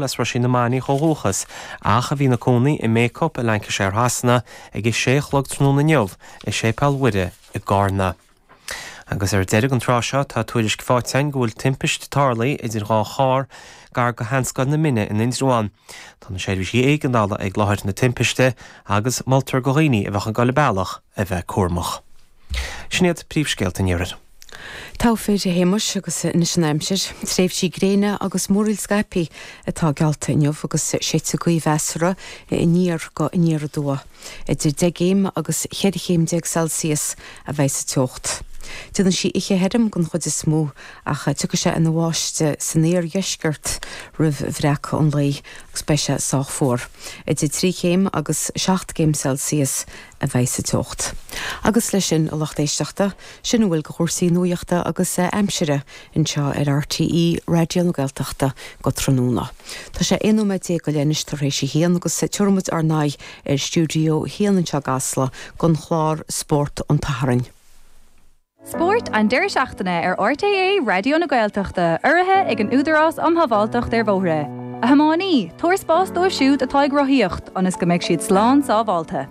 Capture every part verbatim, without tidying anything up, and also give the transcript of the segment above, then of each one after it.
As Roisín na Mainiach ó dhúchas, ach a bhí ina cónaí i mBacup i Lancashire Shasana ag a sé a chlog tráthnóna inniu i Séipéal Mhuire i gCarna. Agus ar deireadh an tráth seo tá tuairisc faighte againn go bhfuil timpist tarlaithe idir dhá charr gar go Sheanscoil na Mine in Indreabhán. Tá na seirbhísí éigeandála ag láthair na timpiste agus moltar do dhaoine a bheadh ag dul an bealach a bheith cúramach. Sin iad príomhscéalta an iarthair. Togha fir a Shéamais agus anois an aimsir, tréimhsí gréine agus múraíl scaipthe atá geallta inniu agus séidfidh gaoth mheasartha aniar go aniar aduaidh. Idir deich gcéim agus cheithre chéim déag Celsius a bheidh sa teocht. Déanfaidh sí oíche thirim den chuid is mó ach tiocfaidh sé ina bháisteach san iardheisceart roimh bhreacadh an lae agus beidh sé sách fuar. Idir trí chéim agus seacht gcéim Celsius a bheidh sa teocht. Agus leis sin, a lucht éisteachta, sin a bhfuil de chúrsaí nuachta agus aimsire anseo ar RTÉ Raidió na Gaeltachta go tráthnóna. Tá sé aon nóiméad déag go leith anois tar éis a haon agus tabharfaidh muid ár n-aghaidh ar stiúideo a haon anseo i gCasla don chlár Spórt an tSathairn. Spórt an deireadh seachtaine ar RTÉ Raidió na Gaeltachta, urraithe ag an Údarás um Shábháilteacht ar Bhóithre. A thiománaí, tabhair spás dóibh siúd atá ag rothaíocht, ionas go mbeidh siad slán sábháilte.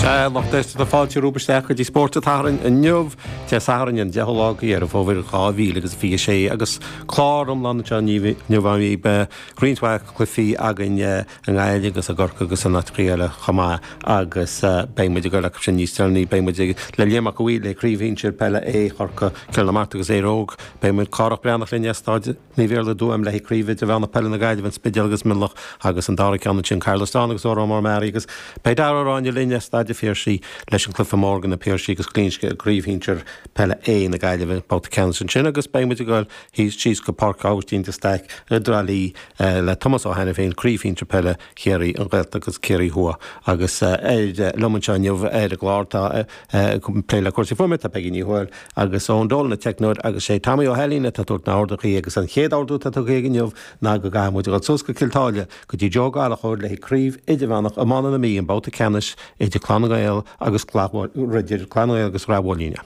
Sea, lucht éisteachta, fáilte romhaibh isteach go dtí Spórt an tSathairn inniu, Dé Sathairn an deichiú lá de Dheireadh Fómhair dhá mhíle agus a fiche sé agus clár iomlán anseo inniu againn. Beidh roinnt mhaith cluichí againn i nGaillimh agus i gCorcaigh agus in áiteacha eile chomh maith agus beidh muid ag dul acu sin níos deireanaí. Beidh muid le Liam Mac a' Bhaoill le Craobh Shinsir Peile A Chorcaí, Cill na Martra agus Éire Óg. Beidh muid Cárthach Breathnach linn as Staid Naomh Iarlaith i dTuaim le haghaidh Craobh Idirmheánach Peile na Gaillimhe, An Spidéal agus Mionlach agus an dara ceann ansin Caherlistrane agus Órán Mór Meáraí agus beidh Dara Ó Ráinne linn as Staid an Phiarsaigh leis an cluiche mór do na Piarsaigh agus Glinsce i gCraobh Shinsir Peile A na Gaillimhe, babhta ceannais ansin agus beidh muid ag dul síos go Páirc Aibhistín de Staic i dTrá Lí le Tomás Ó hAiniféin, Craobh Shinsir Peile Chiarraí, an Ghaeltacht agus Ciarraí Thuaidh agus liom anseo inniu ar an gclár tá ag plé le cúrsaí fuaime tá Peggy Ní Thuathail agus Eoin Dolan an teicneoir agus sé Tommy Ó hAilín atá ag tabhairt na n-orduithe agus an chéad ordú atá tugtha aige inniu ná go gcaithfidh muid a dhul suas go Cill Táile go dtí Joe Gallchóir le haghaidh Craobh Idirmheánach Iomána na Mí, an babhta ceannais idir Clann na nGael agus idir Clann na nGael agus Rath Mhóilíne.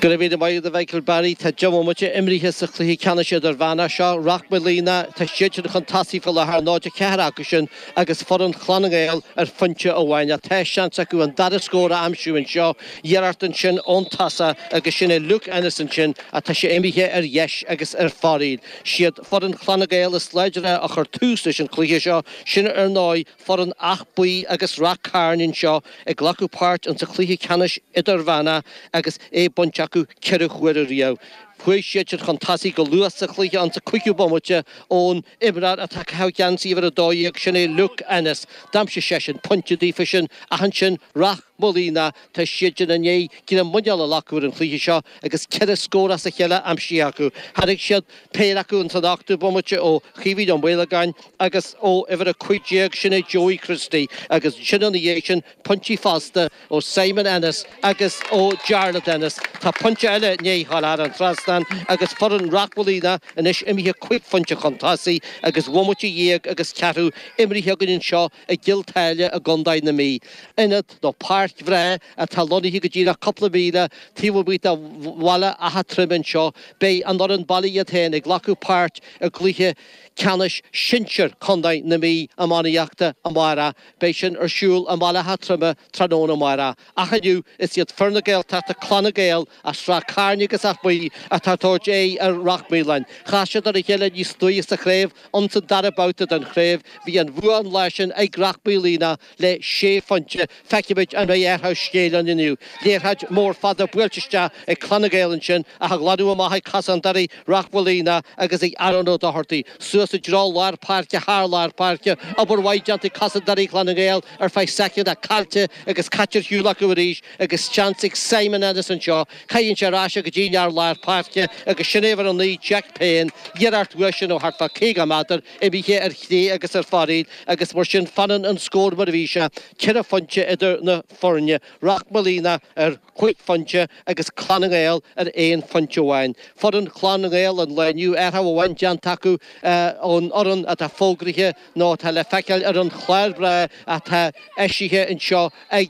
Go raibh míle maith agat a Mhichael Barry. Tá deich mbomaite imrithe sa chluiche ceannais idirmheánach seo. Rath Moliain, tá siadsan chun tosaigh faoi láthair, náid a ceathair acusan agus foireann Chlann na nGael ar phointe amháin. Ach tá seans acu an dara scór a aimsiú anseo. Iarracht ansin ón tosach agus sin é Luke Ennis ansin ach tá sé imithe ar dheis agus ar fóraoil. Siad foireann Chlann na nGael is láidre a chuir tús leis an chluiche seo. Sin ar ndóigh foireann Áth Buí agus Rath Cairn anseo ag glacadh páirt insa chluiche ceannais idirmheánach agus é bainte acu ceithre huaire riamh. Chuaigh siadsan chun tosaigh go luath sa chluiche insa cúigiú bomaite ón imreoir atá ag caitheamh geansaí uimhir a dó dhéag, sin é Luke Ennis. D'aimsigh seisean pointe daofa sin ach ansin Rath Moliain, tá siadsan i ndiaidh greim muineáil a ghlacadh ar an chluiche seo agus ceithre scór as a chéile aimsithe acu. Tharraing siad péire acu ins an ochtú bomaite ó Chaoimhín Ó Maolagáin agus ó uimhir a cúig déag, sin é Joey Christie, agus ansin ina dhiaidh sin, pointí fosta ó Simon Ennis agus ó Jarlath Ennis. Tá pointe eile i ndiaidh a ghabháil thar an trasnán agus foireann Rath Moliain anois imithe cúig phointe chun tosaigh agus bomaite dhéag agus ceathrú imrithe againn anseo i gCill Táile i gContae na Mí. Ionad nó páirc bhreá atá lonnaithe go díreach cúpla míle taobh amuigh de bhaile Átha Troim anseo. Beidh an fhoireann baile iad féin ag glacadh páirt i gcluiche ceannais sinsir Chontae na Mí iománaíochta amárach. Beidh sin ar siúl i mBaile Átha Troime tráthnóna amárach. Ach inniu, is iad fir na Gaeltachta, Clann na nGael as Ráth Cairn agus Áth Buí atá ag tabhairt aghaidh ar Rath Maoláin. Chas siad ar a chéile níos luaithe sa chraobh, ins an dara babhta den chraobh. Bhí an bhua an lá sin ag Rath Maoláin le sé phointe. Feicfimid an mbeidh athrú scéil ann inniu. Liathróid mhór fada buailte isteach ag Clann na nGael ansin ach á ghlanadh amach ag cosantóirí Rath Moliain agus ag Aaron Ó Dochartaigh. Suas i dtreo lár páirce, thar lár páirce. Obair mhaith déanta ag cosantóirí Chlann na nGael ar feadh soicind ach caillte agus caite ar shiúl acu arís agus seans ag Simon Ennis anseo. Caitheann sé ar ais é go dtí an fear lár páirce agus sin é uimhir a naoi Jack Payne. Iarracht uaidh sin ó thart fá caoga méadar imithe ar chlé agus ar fóraoil agus mar sin fanann an scór mar a bhí sé, ceithre phointe idir na foirne, Rath Moliain ar chúig phointe agus Clann na nGael ar aon phointe amháin. Foireann Chlann na nGael an lae inniu, athrú amháin déanta acu ón fhoireann atá fógraithe nó atá le feiceáil ar an chlár breá atá eisithe anseo ag